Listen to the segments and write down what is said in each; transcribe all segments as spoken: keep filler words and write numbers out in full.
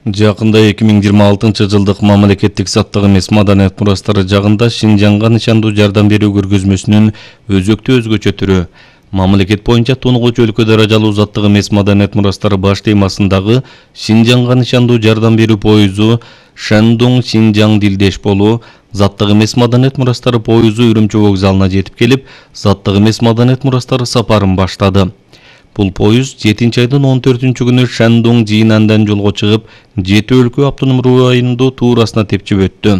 Жакында эки миң жыйырма алтынчы жылдык мамлекеттик заттык эмес маданият мурастары жагында Шинжаңга нышандуу жардам берүү көргөзмөсүнүн өзөктүү өзгөчө түрү мамлекет боюнча тунугуч өлкө даражалуу заттык эмес маданият мурастары баш темасындагы Шинжаңга нышандуу жардам берүү поюзу Шандун Шинжаң Дилдеш болуу заттык эмес маданият мурастары поюзу Үрүмчү вокзалына жетип келип, заттык эмес маданият мурастары сапарын баштады. Бул поюз жетинчи айдын он төртүнчү күнү Шандун Жинандан жолго чыгып, жети өлкө автоном районунду туурасына тепчип өттү.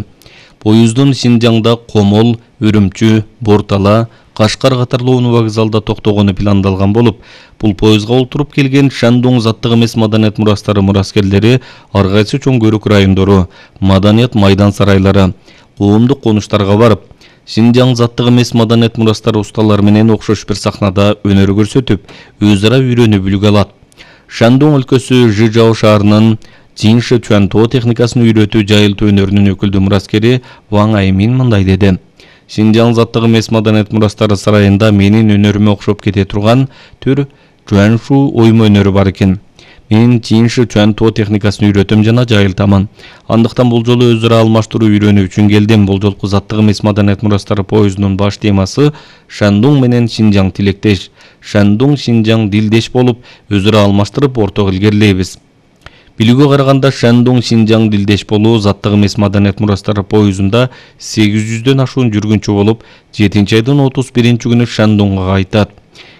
Поюздун Шинжаңда Комол, Үрүмчү, Бортала, Кашкар катарлуу вокзалда токтогону пландалган болуп, бул поюзга олтуруп келген Шандун заттык эмес маданият мурастары мураскерлери ар кайсы чоң көрүк райондору, маданият майдан сарайлары, коомдук конуштарга барып, Шинжаң заттык эмес маданият мурастары усталары менен окшош бир сахнада өнөр көрсөтүп, өз ара үйрөнүп үлгү алат. Шандун өлкөсү Жижао шаарынын Жинши Чуанто техникасын үйрөтүү жайылтуу өнөрүнүн өкүлдүү мураскери Ваң Аймин мындай деди. Шинжаң заттык эмес маданият мурастары сарайында менин өнөрүмө окшоп кете турган түр Чуаншу оймо өнөрү бар экен. Мен Жинши Чуанто техникасын үйрөтөм жана жайылтамын. Андыктан бул жолу өз ара алмаштыруу үйрөнүү үчүн келдим. Бул жолку заттык эмес маданият мурастары поюзунун баш темасы Шандун менен Шинжаң тилектеш, Шандун Шинжаң Дилдеш болуп, өз ара алмаштырып ортого илгерилейбиз. Билүүгө караганда Шандун Шинжаң Дилдеш болуу заттык эмес маданият мурастары поюзунда сегиз жүздөн ашуун жүргүнчү болуп, жетинчи айдын отуз биринчи күнү Шандунга кайтат.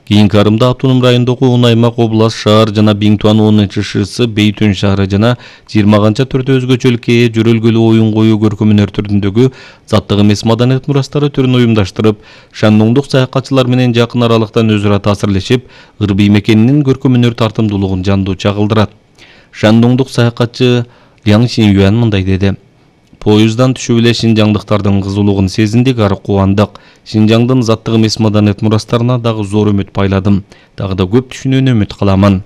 Кийинки арымда автоном райондогу он аймак, област, шаар жана Биңтуан онунчу ШС Бейтүн шаары жана жыйырма канча төртө өзгөчөлүккө ээ жөрөлгөлүү оюн коюу көркөм өнөр түрүндөгү заттык эмес маданият мурастары түрүн уюмдаштырып, шандуңдук саякатчылар менен жакын аралыктан өз ара таасирлешип, ырбий мекенинин көркөм өнөр тартымдуулугун жандуу чагылдырат. Шандуңдук саякатчы Ляң Шинюан мындай деди. Поюздан түшүп эле шинжаңдыктардын кызуулугун сезиндик, ары кубандык. Шинжаңдын заттык эмес маданият мурастарына дагы зор үмүт байладым. Дагы да көп түшүнүүнү үмүт кыламын.